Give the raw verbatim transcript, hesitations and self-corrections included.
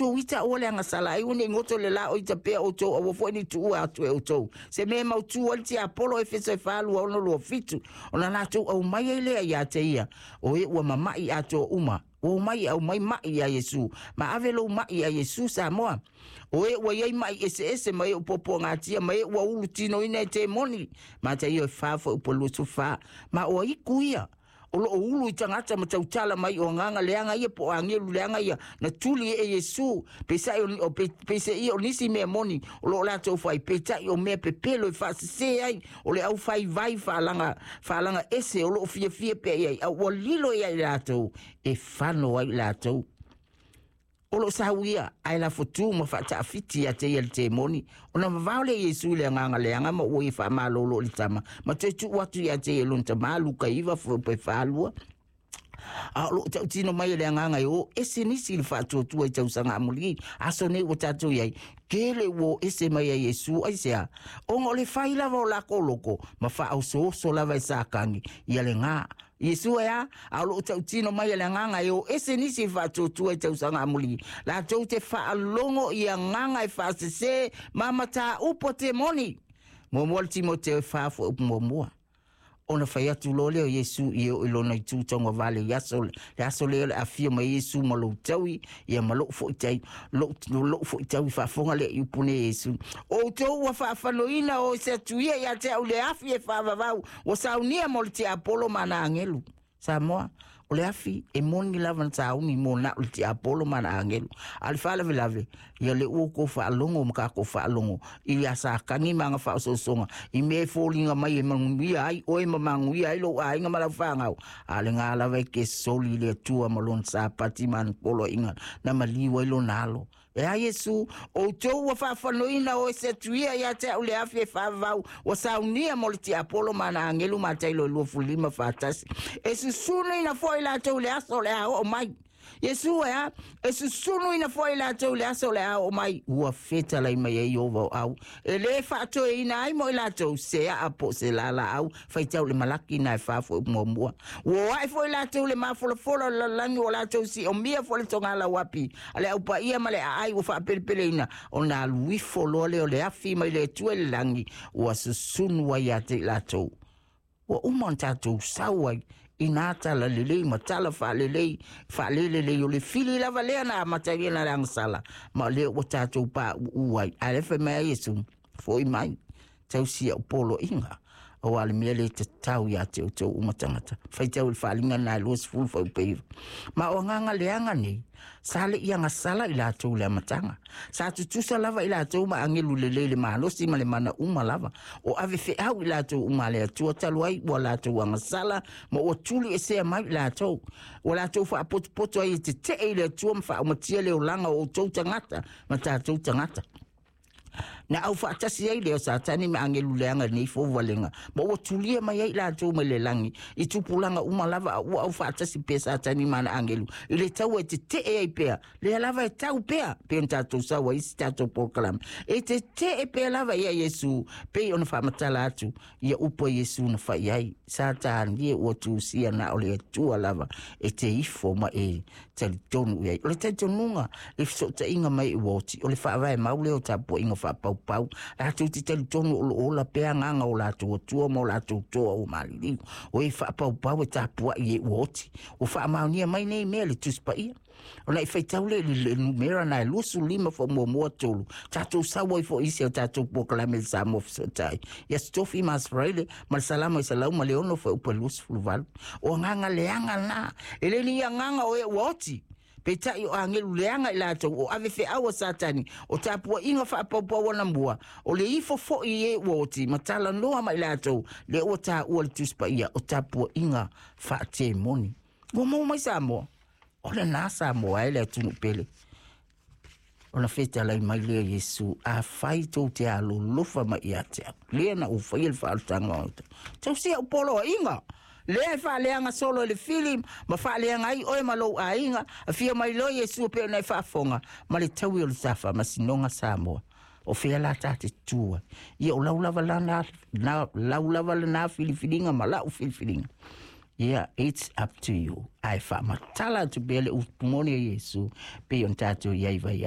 outou ita aua le agasala ai, ua nei goto le la o ita pea outou, aua foi ne i tuua atu e outou se mea e mautū ai le tiapolo. Efeso e fa lua ono lua fitu. Ona latou aumai ai lea ia te ia o e ua mama'i atoa uma, ua omai e aumai ma'i iā Iesu ma ave lou ma'i iā Iesu. Samoa, o e ua iai ma'i eseese ma e ua puapuagatia ma e ua ulu tinoina e temoni. Mataio e fa fuaiupu e luasefulu fa. Ma o aiku ia o loo ulu i tagata ma tautala mai o agaga leaga ia po o agelu leaga ia na tuli e Iesu. Peisaʻi o peiseia o nisi mea moni o loo latou fai, peitai o mea pepelo e faasesē ai o le aufaivai faalaga faalaga ese o loo fiafia pea i ai, a ua lilo ia i latou e fano ai latou o loo sauia ae lafotū ma faataafiti ia te ia le temoni. Ona vavao lea Iesu i le agaga leaga ma ua ia faamalōlō i le tama ma toe tuu atu ia te ia lona tamā. Luka iva fuaiupu e falua. A o loo tautino mai e le agaga e o ese nisi i le faatuatua i tausaga amulī aso nei ua tatou iai kele ua o ese mai ai Iesu. Aisea? Ona o le fai lava o lakou loko ma faaosooso lava e Satani ia legā Iesu e a. A o loo tautino mai e le agaga e o ese nisi i faatuatua i tausaga amulī latou te faalogo i agaga e faasesē ma matāupu a temoni. Muamua le Timoteo e fa fuaiupu muamua. Ona fai atu loa lea o Iesu i e oo i lona itu taugavale i aso le aso lea o le afio mai Iesu ma lou taui ia ma lou foi tai lou lou foi taui. Faafoga lea i upu nei Iesu: Outou ua faafanoina o se atu ia ia te au le afi e faavavau ua saunia mo le tiapolo ma ana agelu. Samoa, o le afi e moni lava na sauni mo na o le tiapolo ma ana agelu. A le faalavelave ia le ua kou faalogo ma kakou faalogo i a Satani ma aga faaosoosoga i mea e foliga mai e manuia ai oe ma manuia ai lou aiga ma lau fanau. A le gā lava e ke soli i le Atua ma lona sapati ma ana poloaiga na maliu ai lona alo. E a Iesu: Outou ua faafanoina o ese atu ia ia te au le afi e faavavau ua saunia mo le tiapolo ma ana agelu. Matailo e lua lima fatasi. E susunuina foi latou i le aso o le a oo mai. Iesu e a? E susunuina foi latou i le aso o le a oo mai. Ua fetalai mai ai Ieova o au e lē faatoeina ai mo i latou se aa po o se lalaau. Faitau le Malaki na e fa fuaiupu muamua. Ua o ae foi latou le mafolafola o le lalolagi, ua latou siomia foi le togalauapi a le aupaia ma le aai ua faapelepeleina. Ona alu ifo loa lea o le afi mai le Atua i le lagi ua susunu ai ia te i latou. Ua uma ona tatou sau ai i nā tala lelei ma tala faalelei faalelelei o le fili lava lea na amatalia na le agasala ma o lea ua tatou paʻuʻu ai. Ae le fai mai ai Iesu: Foʻi mai, tausi au poloaiga, auā le mea lē tatau iā te outou uma tagata. Faitau i le Faaliga na e luasefulu fuaiupu e iva. Ma o agaga leaga nei sa leʻi agasala i latou le amataga. Sa tutusa lava i latou ma agelu lelei le malosi ma le mana uma lava o ave feau i latou uma a le Atua. Talu ai ua latou agasala ma ua tuli esea mai i latou, ua latou faapotopoto ai e teteʻe i le Atua ma faaumatia le olaga o outou tagata ma tatou tagata. Na au faatasi ai lea o Satani ma agelu leaga i lenei fouvalega ma ua tulia mai ai latou mai le lagi i tupulaga uma lava, a ua au faatasi pea Satani ma ana agelu i le taua e teteʻe ai pea lea lava e tau pea pei ona tatou sau ai isi tatou polokalame e teteʻe pea lava ia Iesu pei ona faamatala atu ia upu a Iesu na fai ai: Satani e, ua tusia na o le Atua lava e te ifo ma e talitonu i ai. O le talitonuga le fesootaiga mai i ua oti o le faavae mau lea o tapuaiga faapaupau latou te talitonu o loo ola pea agaga o latou atua ma o latou toa ua maliliu o e faapaupau e tapuai e ua oti. Ua faamaonia mai nei mea le Tusi Paia. Ona i faitau le le numera na e luasefulu lima faamuamua tolu tatou sau ai foi isi o tatou polokalame le Samoa Fesootai ia Stofi Masfraile ma le Salamo e selau ma le ono fuaiupu e luasefulu valu. O agaga leaga na e le ni agaga o e ua oti, peitai o agelu leaga i latou o ave feau a Satani o tapuaiga faapaupau anamua o le ifo foʻi i e ua oti ma talanoa ma i latou lea ua taua le Tusi Paia o tapuaiga faatemoni. Ua maua mai Samoa o lenā Samoa e le atunuu pele. Ona fetalai mai lea Iesu: Afai tou te alolofa mai ia te au lea na ou faia le faaolataga o tausia au poloaiga lea e faaleaga solo i le fili ma faaleaga ai oe ma lou aiga. Afio mai loa Iesu pei ona e faafoga ma le taui o le ta faamasinoga. Samoa, o fea la ta te tua ia? O lau lava lana na lau lava lena filifiliga ma lau filifiliga. Yeah, it's up to you. Ae faamatala atu pea le upu moni a Iesu pei ona tatou iai vai.